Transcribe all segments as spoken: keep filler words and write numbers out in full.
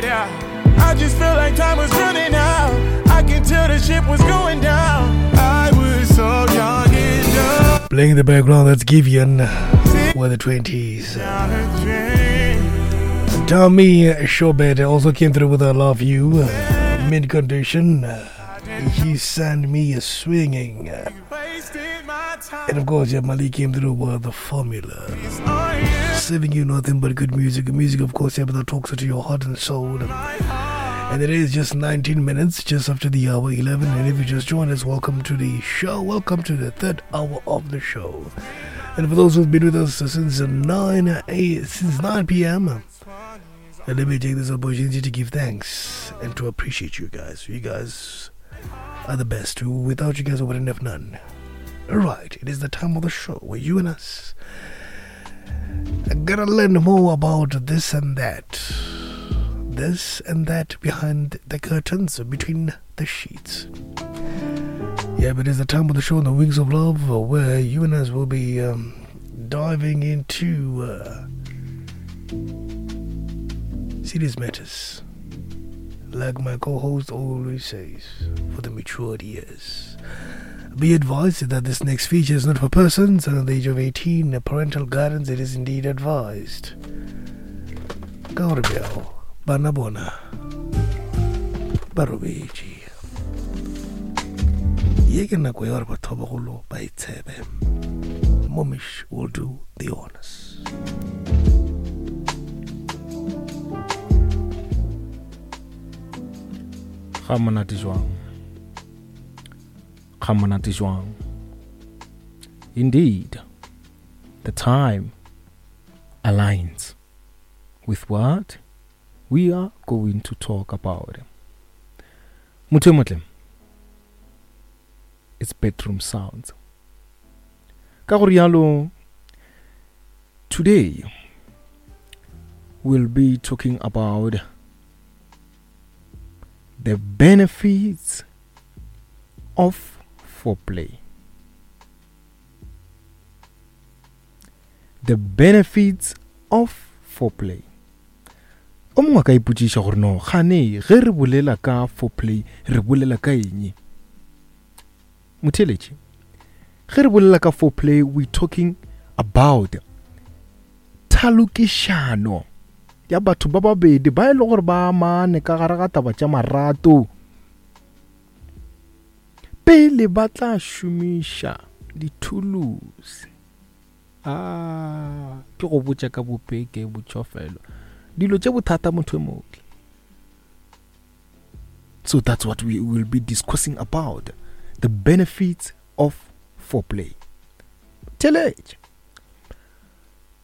I just feel like time was running out. I can tell the ship was going down. I was so young and dumb. Playing in the background, that's Givian with the twenties. Tommy Shobet also came through with I Love You, Mint Condition. He sent me a swinging. And of course, yeah, Malik came through with the formula. Serving you nothing but good music. Music, of course, yeah, but that talks to your heart and soul. And it is just nineteen minutes, just after the hour eleven. And if you just joined us, welcome to the show. Welcome to the third hour of the show. And for those who've been with us since nine a, since nine P M, and let me take this opportunity to give thanks and to appreciate you guys. You guys are the best. Without you guys, I wouldn't have none. All right, it is the time of the show where you and us are gonna learn more about this and that. This and that behind the curtains, between the sheets. Yeah, but it's the time of the show on the Wings of Love, where you and us will be, um, diving into, uh, serious matters. Like my co-host always says, for the matured ears. Be advised that this next feature is not for persons under the age of eighteen. Parental guidance, it is indeed advised. Gauribiao, bana bona, ba robetše. Ye ke nako ya gore batho ba bagolo ba itshebe. Momish will do the honors. Ga monate jwang? Ga monate jwang? Indeed, the time aligns with what we are going to talk about. Motho e motle, it's bedroom sounds. Ka go rialo, today we'll be talking about the benefits of foreplay. The benefits of foreplay. O mongwe a ka ipotšiša gore no, gane ge re bolela ka foreplay, re bolela ka eng? Motheeletši, ge re bolela ka foreplay, we talking about thalokišano ya batho ba babedi ba e le gore ba amane ka gare ga taba tša marato pele ba tla šomiša dithulusi. Ah, ke go botša ka bopeke botšofelo dilo tše bothata motho e motle. So that's what we will be discussing about, the benefits of foreplay. Theeletša.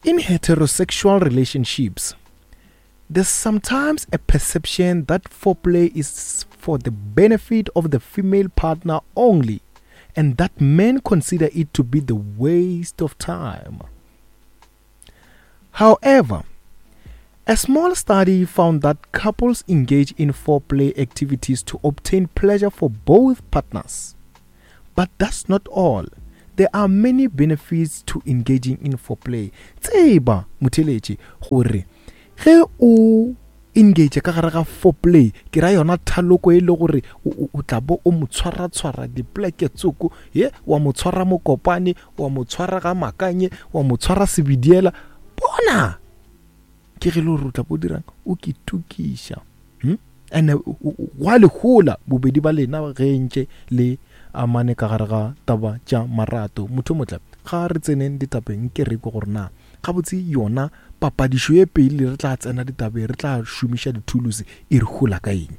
In heterosexual relationships, there's sometimes a perception that foreplay is for the benefit of the female partner only, and that men consider it to be the waste of time. However, a small study found that couples engage in foreplay activities to obtain pleasure for both partners. But that's not all. There are many benefits to engaging in foreplay. Tseba, motheeletši, gore ge o engage ka gare ga foreplay, ke ra yona thaloko e le gore o, o, o tla bo o mo tshwara-tshwara dipleke tsoko, ye, wa mo tshwara mokopane, wa mo tshwara ga makanye, wa mo tshwara sebidiela. Bona! Ke ge le gore o tla bo dirang, o ke tukiša. Hmm? And, o, o, o, gwa le hola bobedi ba lena ge ntše le amane ka gare ga taba tša marato. Motho o motle, ga re tseneng ditabeng, ke re ke gore na gabotse yona papadišo e pele re tla tsena ditabeng, re tla šomiša dithulusi, e re hola ka eng?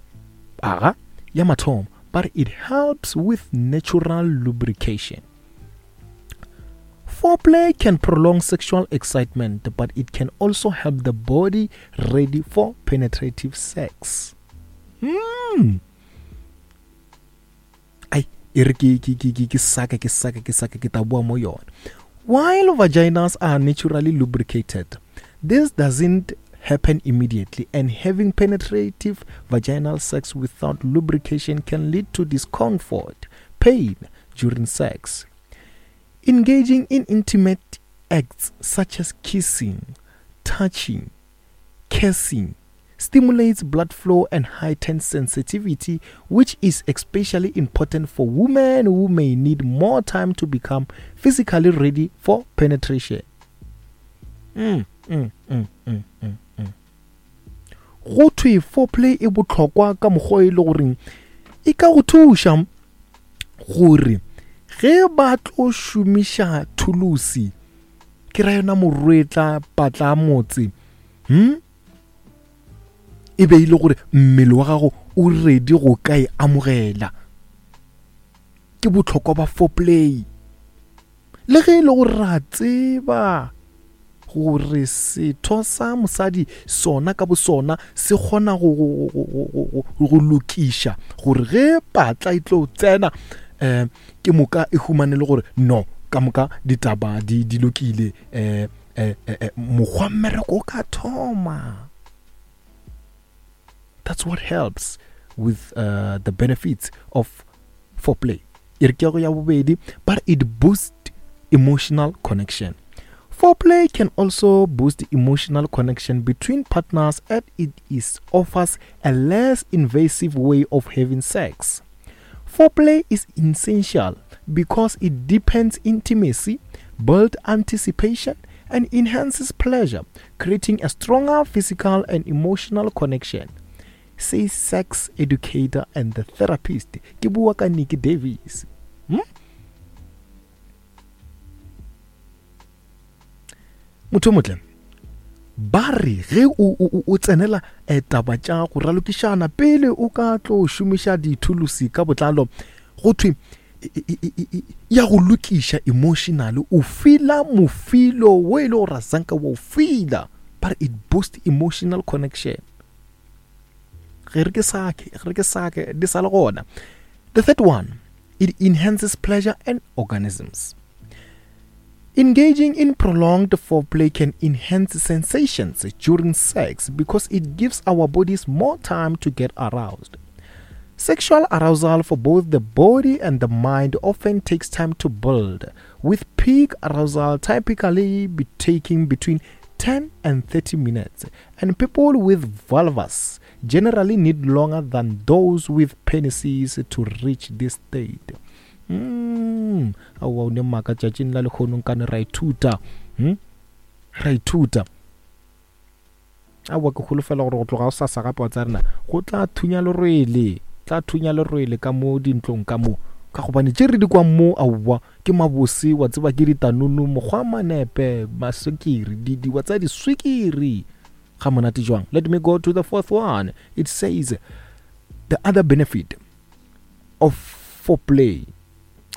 Aga, ya mathomo, ba re it helps with natural lubrication. Foreplay can prolong sexual excitement, but it can also help the body ready for penetrative sex. Hmm. Ai, e re ke, ke, ke, ke, ke saka, ke saka, ke saka, ke tla boa mo yona. While vaginas are naturally lubricated, this doesn't happen immediately, and having penetrative vaginal sex without lubrication can lead to discomfort, pain during sex. Engaging in intimate acts such as kissing, touching, cursing, stimulates blood flow and heightens sensitivity, which is especially important for women who may need more time to become physically ready for penetration. Mm, mm, mm, mm, mm, mm. Go thwe foreplay e bohlokwa ka mokgwa e le goreng e ka go thuša gore ge ba tlo šomiša thulusi, ke ra yona morwetla patla motse, hm e be ile gore mmele wa gago o ready go ka e amogela. Ke bohlokwa ba foreplay. Le ge e le gore ra tseba gore setho sa mosadi sona ka bosona se kgona go, go, go, go, go, go lokiša gore ge patla e tlo tsena, eh, ke moka e humane le gore no ka moka ditaba di, di lokile, eh, eh, eh, mokgwa mmereko o ka thoma. That's what helps with uh, the benefits of foreplay. E re ke go ya bobedi, but it boosts emotional connection. Foreplay can also boost emotional connection between partners, as it is offers a less invasive way of having sex. Foreplay is essential because it deepens intimacy, builds anticipation, and enhances pleasure, creating a stronger physical and emotional connection, says sex educator and the therapist ke bua ka Nikki Davis. Hmm? Motho motle ba re ge o o o tsenela taba tša go ralokišana pele o ka tlo šomiša dithulusi ka botlalo, go thwe ya go lokiša emotional, o fila mofilo wo e le gore sanka wa o fila, but it boosts emotional connection. Ge re ke sake, ge re ke sake di sa le gona. The third one, it enhances pleasure and orgasms. Engaging in prolonged foreplay can enhance sensations during sex because it gives our bodies more time to get aroused. Sexual arousal for both the body and the mind often takes time to build, with peak arousal typically be taking between ten and thirty minutes, and people with vulvas generally need longer than those with penises to reach this state. Mm, aowa o ne maka tšatšing la lekgono nkane ra ithuta, hmm? ra ithuta. Aowa ke holofela gore go tloga o sasa gape wa tsa rena go tla thunya lerwele, tla thunya lerwele ka mo dintlong ka mo, ka gobane tše re di kwang mo aowa ke mabose, wa tseba ke ditanunu, mokgwa manepe, maswikiri, di di wa tsa diswikiri. Ga monate jwang. Let me go to the fourth one. It says the other benefit of foreplay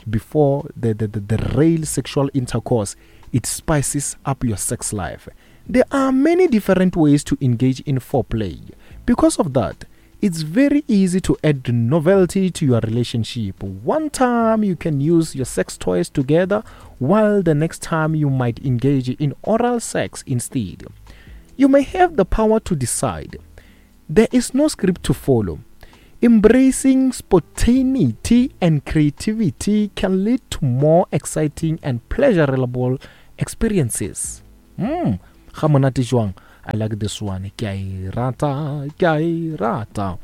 before the, the, the, the real sexual intercourse, it spices up your sex life. There are many different ways to engage in foreplay. Because of that, it's very easy to add novelty to your relationship. One time you can use your sex toys together, while the next time you might engage in oral sex instead. You may have the power to decide. There is no script to follow. Embracing spontaneity and creativity can lead to more exciting and pleasurable experiences. Mm. Ga monate jwang. I like this one. Ke a e rata, ke a e rata.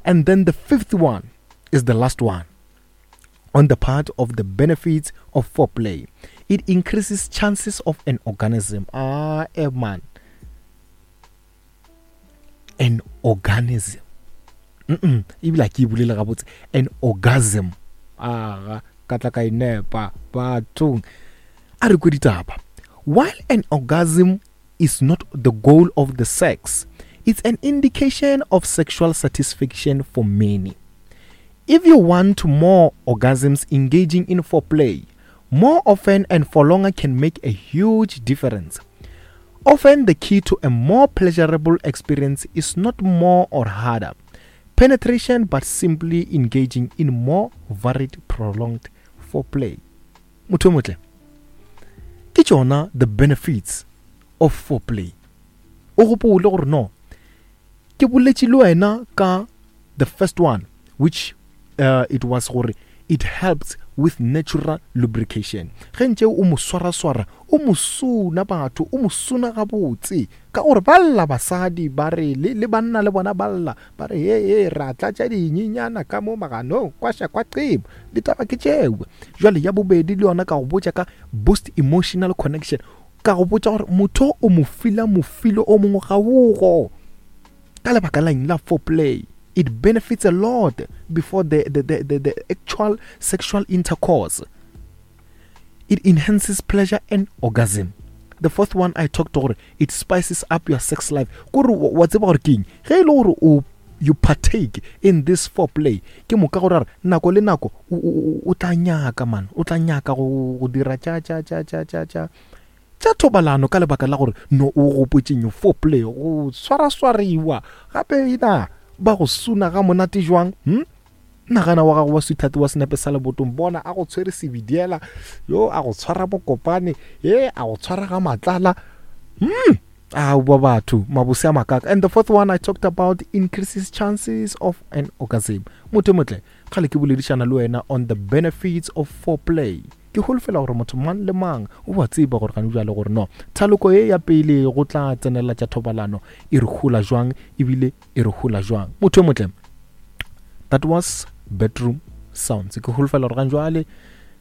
And then the fifth one is the last one. On the part of the benefits of foreplay, it increases chances of an orgasm. Ah, eh, man. An orgasm. Mm-mm. Ebile ke e bolele gabotse. An orgasm. Ah, ka tla ka e nepa bathong. A re kwe ditaba. While an orgasm is not the goal of the sex, it's an indication of sexual satisfaction for many. If you want more orgasms, engaging in foreplay more often and for longer can make a huge difference. Often the key to a more pleasurable experience is not more or harder penetration, but simply engaging in more varied, prolonged foreplay. Motho motle, ke tšona the benefits of foreplay. O gopole gore no, ke boletše le wena ka the first one, which uh, it was gore it helps with natural lubrication. Ge ntše o mo swaraswara, O mo suna batho, o mo suna gabotse, ka gore ba lla basadi ba re le, le banna le bona ba lla ba re he he ra tlatša dinyenyana ka mo maganong kwaša kwa qebo, ditaba ke tšeo. Jwale ya bobedi le yona ka go botša ka boost emotional connection, ka go botša gore motho o mo fila mofilo o mongwe ga ogo ka lebaka la eng la foreplay. It benefits a lot before the, the, the, the, the actual sexual intercourse. It enhances pleasure and orgasm. The fourth one I talked to, it spices up your sex life. Kore wa tseba gore ke eng? Ge e le gore o you partake in this foreplay, ke moka gore nako le nako o tla nyaka man, o tla nyaka go go dira tša tša tša tša tša tša tša thobalano ka lebaka la gore no o gopotšeng foreplay go swaraswariwa gape ina ba go suna ga monate jwang. Hm? Nagana wa gago wa sweetheart wa senepe sa lebotong, bona a go tshwere sebidiela, yo a go tshwara bokopane, ye a go tshwara ga matlala. Hmm. Ah, wa batho mabose a makaka. And the fourth one I talked about, increases chances of an orgasm. Motho motle kgale ke boledišana le wena on the benefits of foreplay. Ke holofela gore motho mang le mang o wa tseba gore gane bjale gore no thaloko ye ya pele go tla tsenela tša thobalano e re hola jwang, ebile e re hola jwang. Motho motle, that was bedroom sounds. Ke holofela gore gane jwale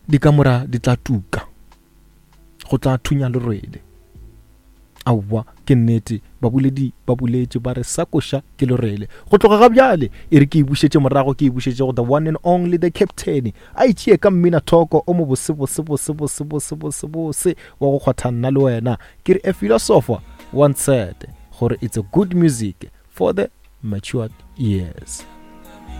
dikamora di tla tuka, go tla thunya lerwele. Aowa ke nnete, baboledi ba boletše ba re sa koša ke lerwele. Go tloga ga bjale e re ke e bušetše morago, ke e bušetše go the one and only the captain, a itšee ka mmina thoko o mo bose bose bose bose bose bose bose wa go kgwatha nna le wena. Ke re a philosopher once said gore it's a good music for the matured ears.